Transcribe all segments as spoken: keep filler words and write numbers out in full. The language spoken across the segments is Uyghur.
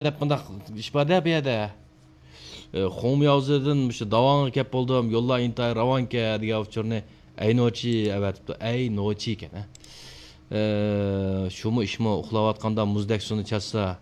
دەپ مۇنداق ئىش بار-دە بۇ يەردە. ئى، خۇڭمياۋزېدىن مۇشۇ داۋاڭغا كەپ بولدۇم، يوللار ئىنتايىن راۋانكەن دېگەن ئۇچۇرنى ئەينوچى ئەۋەتىپتۇ. ئەينوچى ئىكەن، ھە. ئى، شۇمۇ ئىشمۇ، ئۇخلاۋاتقاندا مۇزدەك سۇنى چاچسا،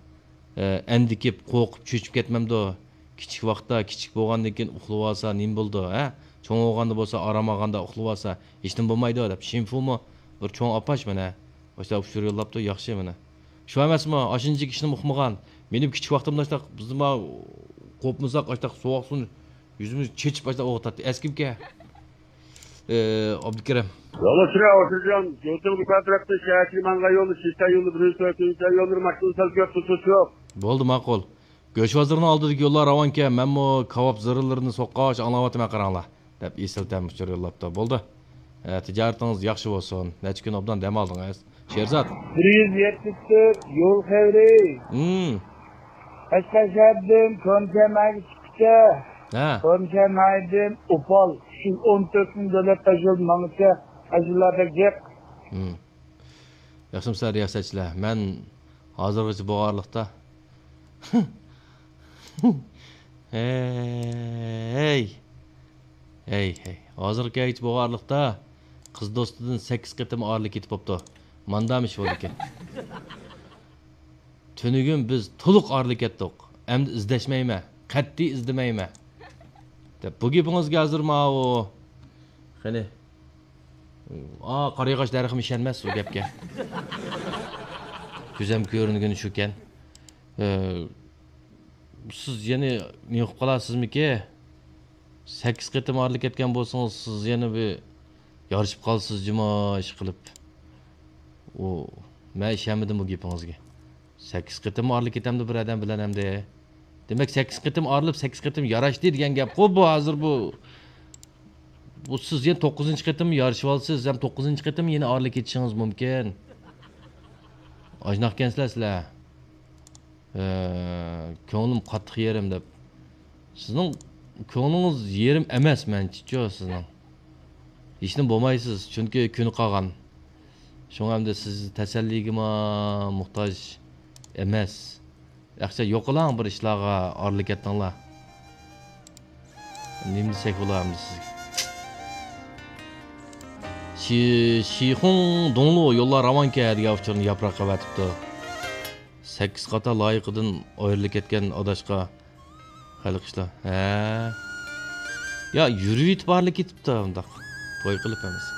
ئى، ئەندىكىپ، قورقۇپ، چۆچۈپ كەتمەمدۇ؟ كىچىك ۋاقىتتا، كىچىك بولغاندىن كېيىن ئۇخلىۋالسا نېمە بولىدۇ، ھە؟ چوڭ بولغاندا بولسا، ئارام ئالغاندا ئۇخلىۋالسا ھېچنېمە بولمايدۇ، دەپ شىنفۇمۇ بىر چوڭ ئاپاش مانا. ئاشۇنداق ئۇچۇر يوللاپتۇ، ياخشى مانا. شۇ ئەمەسمۇ، ئاشۇنچە ئىشنىمۇ ئۇقمىغان. مېنىڭ كىچىك ۋاقتىمدا ئاشتاق، بىزمۇ قوپمىساق، ئاشتاق سوغۇق سۇنى يۈزىمىزگە چېچىپ، ئاشتاق ئوغۇتاتتى. ئەسكىمكەن؟ ئى، ئابدۇكېرىم. يولدىشى ئوتۇرجان، يوتۇڭ بىكار تەرەپتىن شەھەرچىگە ماڭغان يولى، شىشتا يولى، بىرىنچى سۆزى، يولى، بىر ماشىنا سەل كۆپ تۇتۇش يوق. بولدى، ماقۇل. گۆش بازىرىنىڭ ئالدىدىكى يوللار راۋانكەن، مەنمۇ كاۋاپ زىرىلىرىنى سوققاچ ئاڭلاۋاتىمەن، قاراڭلار، دەپ ئېسىل تەم ئۇچۇر يوللاپتۇ. بولدى. ئە، تىجارىتىڭىز ياخشى بولسۇن. نەچچە كۈن ئوبدان دەم ئالدىڭىز. شېرزات. بىر يۈز يەتمىش تۆت يول خەۋىرى. ھىم. قەشقەر شەھەردىن كونچەنئايغا چىققىچە، ھە. كونچەنئايدىن ئوپال ئۈچ يۈز ئون تۆت مىڭ دۆلەت تاشيول ماڭغىچە ئەجىرلەردەك جىق. ھىم. ياخشىمۇسىلەر رىياسەتچىلەر؟ مەن ھازىرغىچە بولغانلىقتا. ھەي! ھەي، ھەي! ھازىرغىچە بولغانلىقتا قىز دوستىدىن سەككىز قېتىم ئايرىلىپ كېتىپ بوپتۇ. ماندام ئىش بولىدىكەن. تۈنۈگۈن بىز تولۇق ئايرىلىپ كەتتۇق. ئەمدى ئىزدەشمەيمەن. قەتئىي ئىزدىمەيمەن. دەپ، بۇ گېپىڭىزگە ھازىر ماۋۇ. قېنى. ئا، قارىياغاچ دەرىخىمۇ ئىشەنمەس ئۇ گەپكە. كۆزەم كۆرۈنگىنى شۇكەن. ئە، سىز يەنە نېمە قىلىپ قالارسىزمىكى؟ سەككىز قېتىم ئايرىلىپ كەتكەن بولسىڭىز، سىز يەنە بىر يارىشىپ قالىسىز جۇما ئىش قىلىپ. ئۇ، مەن ئىشەنمىدىم بۇ گېپىڭىزگە. سەككىز قېتىم ئايرىلىپ كېتەمدۇ بىر ئادەم بىلەن ئەمدى؟ دېمەك، سەككىز قېتىم ئايرىلىپ، سەككىز قېتىم ياراشتى دېگەن گەپقۇ بۇ ھازىر بۇ. بۇ سىز يەنە توققۇزىنچى قېتىم يارىشىۋالىسىز، ھەم توققۇزىنچى قېتىم يەنە ئايرىلىپ كېتىشىڭىز مۇمكىن. ئاجناقكەنسىلەر سىلەر. ئە، كۆڭلۈم قاتتىق يېرىم دەپ. سىزنىڭ كۆڭلىڭىز يېرىم ئەمەس مەنچىچۇ سىزنىڭ. ھېچنېمە بولمايسىز، چۈنكى كۈنى قالغان. شۇڭا ئەمدى سىز تەسەللىگىمۇ موھتاج ئەمەس. ئەخچە يوقىلاڭ بىر ئىشلارغا ئارىلىشىپ كەتتىڭلار. نېمە دېسەك بولا ئەمدى سىزگە؟ شى-، شىخۇڭ دۇڭلۇ يوللار راۋانكەن دېگەن ئۇچۇرنى ياپراق قىلىۋېتىپتۇ. سەككىز قاتار لايىقىدىن ئايرىلىپ كەتكەن ئاداشقا خەلق ئىشلار. ھە. يا يۈرۈۋېتىپ ئارىلىشىپ كېتىپتۇ ئۇنداق. توي قىلىپ ئەمەس.